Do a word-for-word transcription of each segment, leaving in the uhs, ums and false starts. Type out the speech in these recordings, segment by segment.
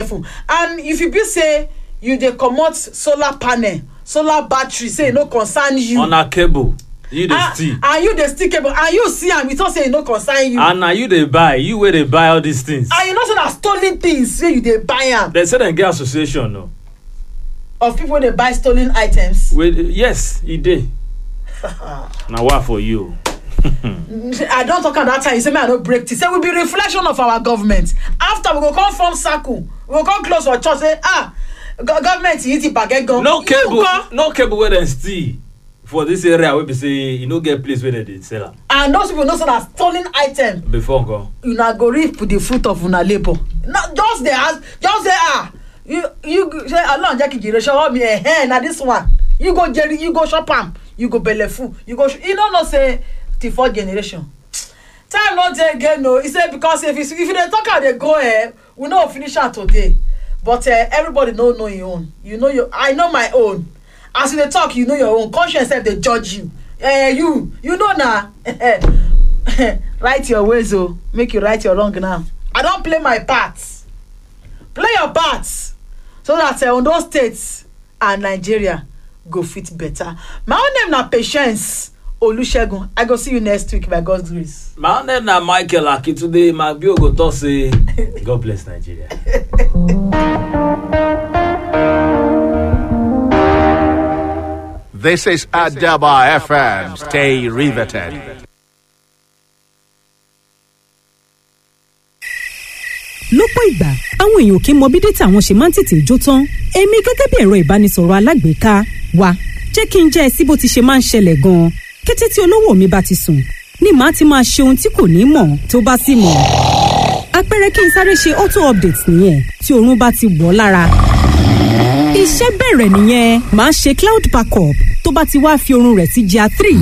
careful. And if you be say you dey comot solar panel, solar battery, say e no concern you. On a cable, you dey and, steal. And you dey steal cable, and you see am, you talk say e no concern you. And na you dey buy, you wey dey buy all these things. And you know say na stolen things say you dey buy am. Dem say dem get association o. Of people wey dey buy stolen items. Wey yes, e dey. Na wa for you. I don talk am that time, you say make I no break tea. Say we be reflection of our government. After, we go come form circle, we go come close for church, say, "Ah, go government yìí ti bàgẹ́ gan." No You cable, go. no cable wey dem steal for this area wey be say e no get place wey dem dey sell am. And those people know say na stolen item. Before nko? Una go reap the fruit of una labour. No just dey ask, just say, "Ah, you you say Ọlọ́run jẹ́ kí n jèrè ṣọwọ́ mi." Ẹ̀hẹ́n, na this one you go jere, you go chop am, you go belle full, you go, you no know say the fourth generation. Time no dey again o. He say because if you if you dey talk am dey go, eh, we no go finish am today. But uh, everybody no know im own. You know your, I know my own. As you dey talk, you know your own conscience sef dey judge you. Eh, you you know na. Right your ways o, make you right your wrong now. I don play my part. Play your part so that uh, Ondo State and Nigeria go fit better. My own name na Patience Olusegun. I go see you next week by God's grace. My own name na Michael Akintunde. Magbio go talk say God bless Nigeria. This is Adaba F M. Stay riveted. Lọ́pọ̀ ìgbà, àwọn èèyàn kì í mọ bí data àwọn ṣe máa ń tètè jó tán. Èmi gẹ́gẹ́ bí ẹ̀rọ ìbánisọ̀rọ̀ alágbèéká wa, jẹ́ kí n jẹ́ ẹ sí bó ti ṣe máa ń ṣẹlẹ̀ gan-an. Kété tí olówó mi bá ti sùn ni màá ti máa ṣe ohun tí kò ní mọ̀ tó bá sì mọ̀. Àpẹẹrẹ, kí n sáré ṣe auto update nìyẹn. Tí oorun bá ti wọ̀ lára, iṣẹ́ bẹ̀rẹ̀ nìyẹn. Màá ṣe cloud backup. Tó bá ti wá fi oorun rẹ̀ sí G R three,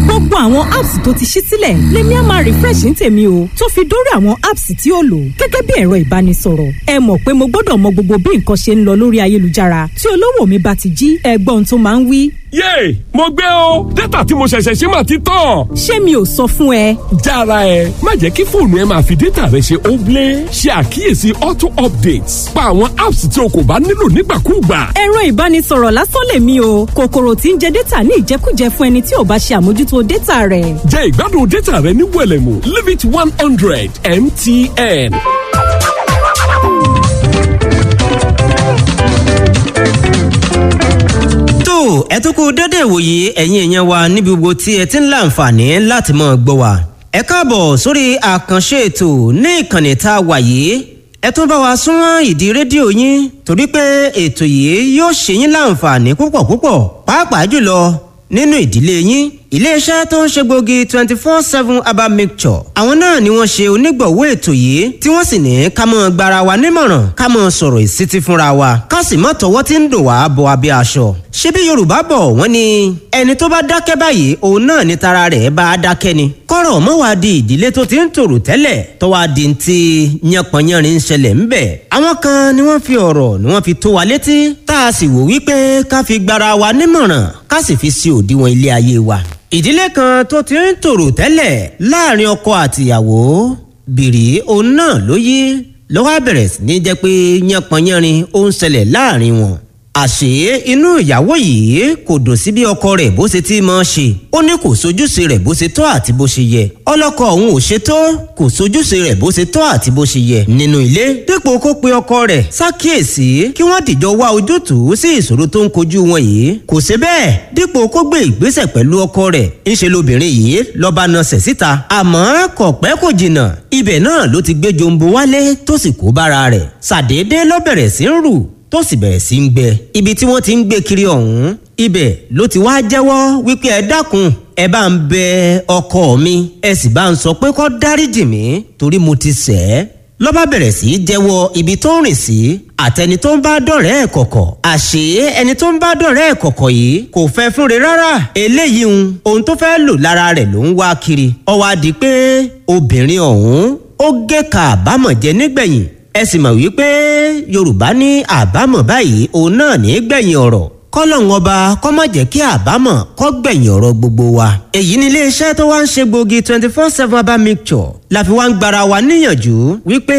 gbogbo àwọn apps tó ti ṣí sílẹ̀ lèmi á máa refresh ní tèmi o, tó fi dórí àwọn apps tí ó lò gẹ́gẹ́ bí ẹ̀rọ ìbánisọ̀rọ̀. Ẹ mọ̀ pé mo gbọ́dọ̀ mọ gbogbo bí nǹkan ṣe ń lọ lórí ayélujára. Tí olówó mi bá ti jí, ẹgbọ́n tó máa ń wí. Yéè, mo gbé o! Data tí mo ṣẹ̀ṣẹ̀ ṣe mà ti tán. Ṣé mi ò sọ fún ẹ? Jára ẹ, má jẹ́ kí fóònù ẹ máa fi data rẹ ṣe óblé. Ṣe àkíyèsí auto updates, pa àwọn apps tí o kò bá nílò nígbàkúùgbà. Ẹ̀rọ ìbánisọ̀rọ̀ lásán lèmi o, kòkòrò tí ń jẹ data ní ìjẹkújẹ fún ẹni tí ò bá ṣe àmójútó data rẹ̀. Jẹ́ ìgbádùn data rẹ ní wẹ̀lẹ̀mú. Limit one hundred M T N. Tó ẹ tún kú dédé ìwòye, ẹ̀yin èèyàn wa níbi gbogbo tí ẹ ti ń láǹfààní láti mọ̀ gbọ́ wa. Ẹ káàbọ̀ sórí àkànṣe ètò ní ìkànnì tá a wà yìí. Ẹ tún bá wa súnmọ́ ìdí rédíò yín, torí pé ètò yìí yóò ṣe yín láǹfààní púpọ̀ púpọ̀, pàápàá jùlọ nínú ìdílé yín. Iléeṣẹ́ tó ń ṣe gbòógì twenty four seven herbal mixture, àwọn náà ni wọ́n ṣe onígbọ̀wọ́ ètò yìí, tí wọ́n sì ní ká mọ́ gbara wa nímọ̀ràn, ká mọ́ sọ̀rọ̀ ìsítí fúnra wa, ká sì mọ́ tọwọ́ tí ń dùn wá bọ abẹ́ aṣọ. Ṣebí Yorùbá bọ̀, wọ́n ní ẹni tó bá dákẹ́ báyìí, òun náà ni tara rẹ̀ bá a dákẹ́ ni. Kọ́rọ̀ mọ́ wá di ìdílé tó ti ń tòrò tẹ́lẹ̀ tó wá di ti yánpọnyánrin ń ṣẹlẹ̀ ńbẹ̀. Àwọn kan ni wọ́n fi ọ̀rọ̀ ni wọ́n fi tó wa létí, tá a sì wò wípé ká fi gbara wa nímọ̀ràn, ká sì fi sí òdiwọ̀n ilé ayé wa. Ìdílé kan tó ti ń tòrò tẹ́lẹ̀ láàrin ọkọ àtìyàwó, bìrì òun náà ló yí lọ́wọ́, bẹ̀rẹ̀ sí ní jẹ́ pé yánpọnyánrin ó ń ṣẹlẹ̀ láàrin wọn. Àṣé inú ìyàwó yìí kò dùn sí bí ọkọ rẹ̀ bó ṣe ti máa ṣe. Ó ní kò sojúṣe rẹ̀ bó ṣe tọ́ àti bó ṣe yẹ. Ọlọ́kọ òun ò ṣe tó, kò sojúṣe rẹ̀ bó ṣe tọ́ àti bó ṣe yẹ nínú ilé. Dípò kó pe ọkọ rẹ̀ ṣàkíyèsí, kí wọ́n dìjọ wá ojútùú sí ìṣòro tó ń kojú wọn yìí, kò ṣe bẹ́ẹ̀. Dípò kó gbé ìgbésẹ̀ pẹ̀lú ọkọ rẹ̀, ńṣe lobìnrin yìí lọ́ba nasẹ̀ síta. Àmọ́ kò pẹ́ kò jìnnà, ibẹ̀ náà ló ti gbé jombo wálé, tó sì kó bára rẹ̀. Ṣàdédé ló bẹ̀rẹ̀ sí ń rù, tó sì bẹ̀rẹ̀ sí ń gbẹ. Ibi tí wọ́n ti ń gbé kiri ọ̀hún, ibẹ̀ ló ti wá jẹ́wọ́ wípé, "Ẹ dákun, ẹ bá ń bẹ ọkọ mi, ẹ sì bá ń sọ pé kó dáríjì mí, torí mo ti ṣẹ̀ ẹ́." Ló bá bẹ̀rẹ̀ sí í jẹ́wọ́ ibi tó ń rìn sí àtẹni tó ń bá dọ̀rẹ́ ẹ̀ kọ̀kọ̀. Àṣé ẹni tó ń bá dọ̀rẹ́ ẹ̀ kọ̀kọ̀ yìí kò fẹ́ fúnre rárá. Eléyìí ń ohun tó fẹ́ lò lára rẹ̀ ló ń wá kiri. Ó wá di pé obìnrin ọ̀hún ó gé ka àbámọ̀ jẹ nígbẹ̀yìn. Ẹ sì mọ̀ wípé Yorùbá ní àbámọ̀ báyìí òun náà ní gbẹ̀yìn ọ̀rọ̀. Kọ́lọ́hún ọba kó má jẹ́ kí àbámọ̀ kó gbẹ̀yìn ọ̀rọ̀ gbogbo wa. Èyí ni iléeṣẹ́ tó wá ń ṣe gbòógì twenty four seven herbal mixture la fi wá ń gbara wa níyànjú wípé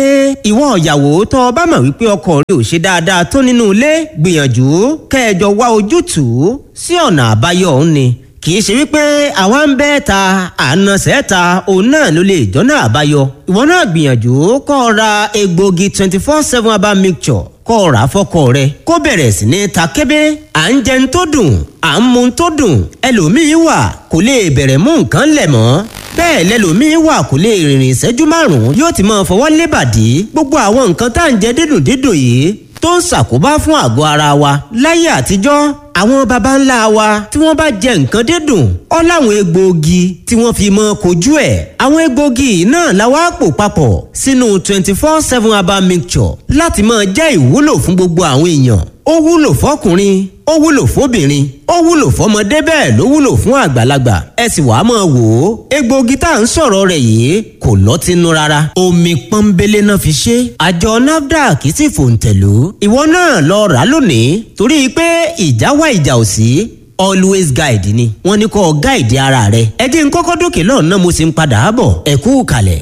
ìwọ ìyàwó tó o bá mọ̀ wípé ọkọ rẹ ò ṣe dáadáa tó nínú ilé, gbìyànjú kẹjọ wá ojútùú sí ọ̀nà àbáyọ òun ni. Kì í ṣe wípé àwa ń bẹ́ ta ànàṣẹ́ ta òun náà ló lè jọ́nà àbáyọ. Ìwọ náà gbìyànjú kó o ra egbògi twenty four seven herbal mixture, kó o rà á fọ́kọ rẹ kó bẹ̀rẹ̀ sí ní ta kébé. À ń jẹun tó dùn, à ń mu tó dùn, ẹlòmíín wà kò lè bẹ̀rẹ̀ mú nǹkan lẹ̀ mọ́. Bẹ́ẹ̀ lẹlòmíín wà kò lè rìnrìn ìṣẹ́jú márùn-ún yóò ti máa fọwọ́ lébàdí. Gbogbo àwọn nǹkan tá à ń jẹ dídùn dídùn yìí tó ń ṣàkóbá fún àgọ́ ara wa. Láyé àtijọ́, àwọn baba ńlá wa tí wọ́n bá jẹ nǹkan dídùn, ó láwọn egbòogi tí wọ́n fi mọ́ kojú ẹ̀. Àwọn egbòogi náà la wá pò papọ̀ sínú twenty four seven herbal mixture láti máa jẹ́ ìwúlò fún gbogbo àwọn èèyàn. Ó wúlò fọkùnrin, ó wúlò fóbìnrin, ó wúlò fọmọdé, bẹ́ẹ̀ ló wúlò fún àgbàlagbà. Ẹ sì wàá máa wò ó, egbòogi tá à ń sọ̀rọ̀ rẹ̀ yìí kò lọ́tínú rárá, omi pọ́nbélé náà fi ṣe. Àjọ NAFDAC sì fòǹtẹ̀lú. Ìwọ náà lọ rà á lónìí, torí pé ìjà wá ìjà ò sí, always guide ni wọ́n ní kó o guide ara rẹ. Ẹ jẹ́ n kọ́kọ́ dókè lọ́nà, mo sì ń padà bọ̀. Ẹ kú kalẹ̀.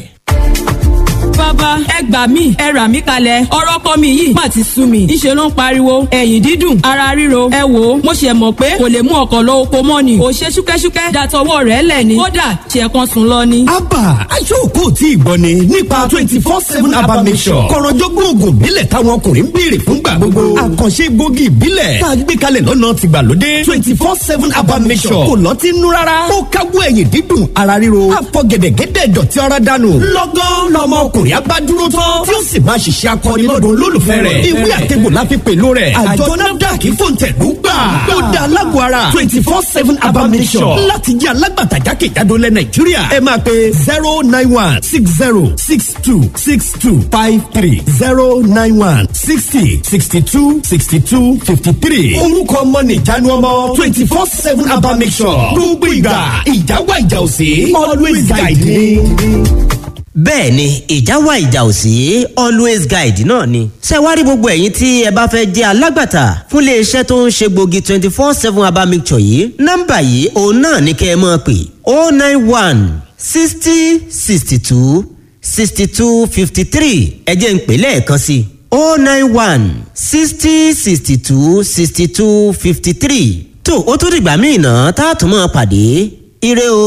Bàbá, ẹ gbà mí, ẹ rà mí kalẹ̀. Ọ̀rọ̀ kọ́ mi yìí má ti sú mi. Ńṣe ló ń pariwo ẹ̀yìn dídùn, ara ríro. Ẹ wò ó, mo ṣe mọ̀ pé kò lè mú ọkọ̀ lọ oko mọ́ ni kò ṣe ṣúkẹ́ṣúkẹ́ dàtọwọ́ rẹ̀ lẹ̀ ni, kódà ṣe kan sùn lọ ni. Abba aṣọ́ọ̀kọ́ tí ì gbọ́ ni nípa twenty four seven herbal mixture, kọ̀rọ̀jọ́gbọ́n oògùn ìbílẹ̀ táwọn ọkùnrin ń béèrè fúngbà gbogbo, àkànṣe gbòógì ìbílẹ̀ tá a gbé kalẹ̀ lọ́nà tìgbàlódé. twenty four seven herbal mixture kò lọ́tí nú rárá, ó káwọ́ ẹ̀yìn dídùn, ara ríro, àfọ̀gẹ̀dẹ̀gẹ̀dẹ̀ dọ̀tí ara dànù lọ́gán lọ́mọ ọkùnrin abá dúró tán tí ó sì máa ṣiṣẹ́ akọni lọ́dọ̀ olólùfẹ́ rẹ̀. Ìwé àtẹ̀gbò la fi pèlú rẹ̀. Àjọ NAFDAC fòǹtẹ̀lú gbà. Ó da alágọ̀ ara twenty four seven herbal mixture láti jẹ́ alágbàtà jákèjádò lẹ̀ Nàìjíríà. Ẹ máa pe zero nine one six zero six two six two five three, zero nine one sixty sixty two sixty two fifty three. Orúkọ ọmọ nìjánu ọmọ twenty four seven herbal mixture. Gbogbo ìgbà ìjáwá ìjà òsè, always guide me. Bẹ́ẹ̀ ni, ìjà wà ìjà ò sí, always guide náà ni. Ṣé wàá rí gbogbo ẹ̀yin tí ẹ bá fẹ́ jẹ́ alágbàtà fún iléeṣẹ́ tó ń ṣe gbòógì twenty four seven herbal mixture yìí, nọ́mbà yìí òun náà ní kẹ́ ẹ máa pè: oh nine one sixty sixty two sixty two fifty three. Ẹ jẹ́ n pè lẹ́ẹ̀kan sí i: oh nine one sixty sixty two sixty two fifty three. Tó o tún dìgbà míì náà tá a tún máa pàdé. Ire o.